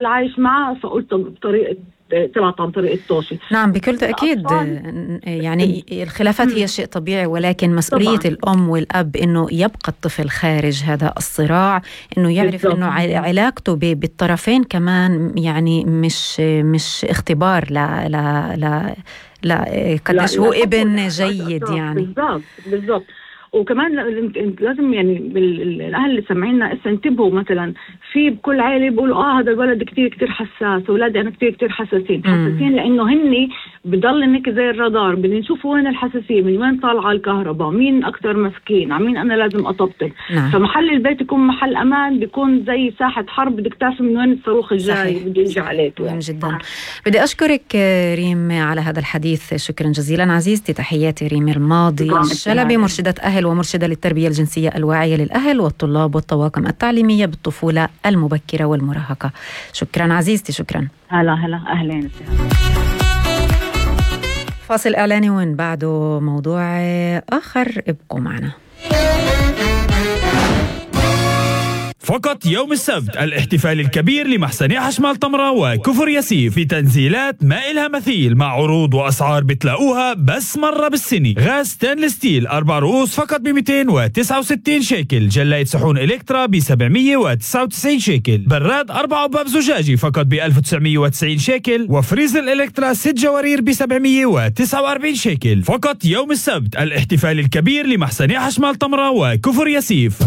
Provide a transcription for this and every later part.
العايش معه، فقلت بطريقة طلعت عن طريق الطوشي. نعم بكل تأكيد، يعني الخلافات هي شيء طبيعي، ولكن مسؤولية طبعاً الأم والأب إنه يبقى الطفل خارج هذا الصراع، إنه يعرف إنه علاقته بالطرفين كمان يعني مش اختبار لا قديش هو ابن جيد يعني. بالضبط. وكمان لازم يعني الأهل اللي سمعينا انتبهوا، مثلا في بكل عائلة بيقولوا هذا الولد كتير حساس، أولادي أنا كتير حساسين لأنه هني بضل إنك زي الرادار، بدنا نشوف وين الحساسية، من وين طالعة الكهرباء، مين أكتر مسكين، عمين أنا لازم أطبطب. نعم. فمحل البيت يكون محل أمان، بيكون زي ساحة حرب، بدك تعرف من وين الصاروخ الجاي بده يجي عليك. مهم جدا. بدي أشكرك ريم على هذا الحديث، شكرا جزيلا عزيزتي. تحياتي ريم الماضي الشلبي، مرشدة أهل ومرشدة للتربية الجنسية الواعية للأهل والطلاب والطواقم التعليمية بالطفولة المبكرة والمراهقة. شكرا عزيزتي، شكرا. هلا أهلين. فاصل إعلاني وين بعده موضوع آخر، ابقوا معنا. فقط يوم السبت الاحتفال الكبير لمحسن حشمال طمرة وكفر ياسيف في تنزيلات ما إلها مثيل، مع عروض وأسعار بتلاقوها بس مرة بالسنة. غاز ستانلس ستيل 4 رؤوس فقط ب269 شيكل، جلاية صحون إلكترا ب799 شيكل، براد 4 أبواب زجاجي فقط ب1990 شيكل، وفريزر إلكترا 6 جوارير ب749 شيكل. فقط يوم السبت الاحتفال الكبير لمحسن حشمال طمرة وكفر ياسيف.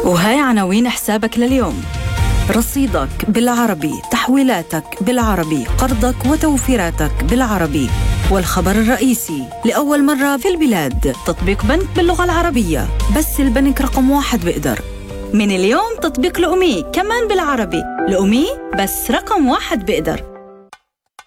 وهاي عناوين حسابك لليوم. رصيدك بالعربي، تحويلاتك بالعربي، قرضك وتوفيراتك بالعربي. والخبر الرئيسي: لأول مرة في البلاد تطبيق بنك باللغة العربية، بس البنك رقم 1 بيقدر. من اليوم تطبيق لأمي كمان بالعربي، لأمي بس رقم 1 بيقدر.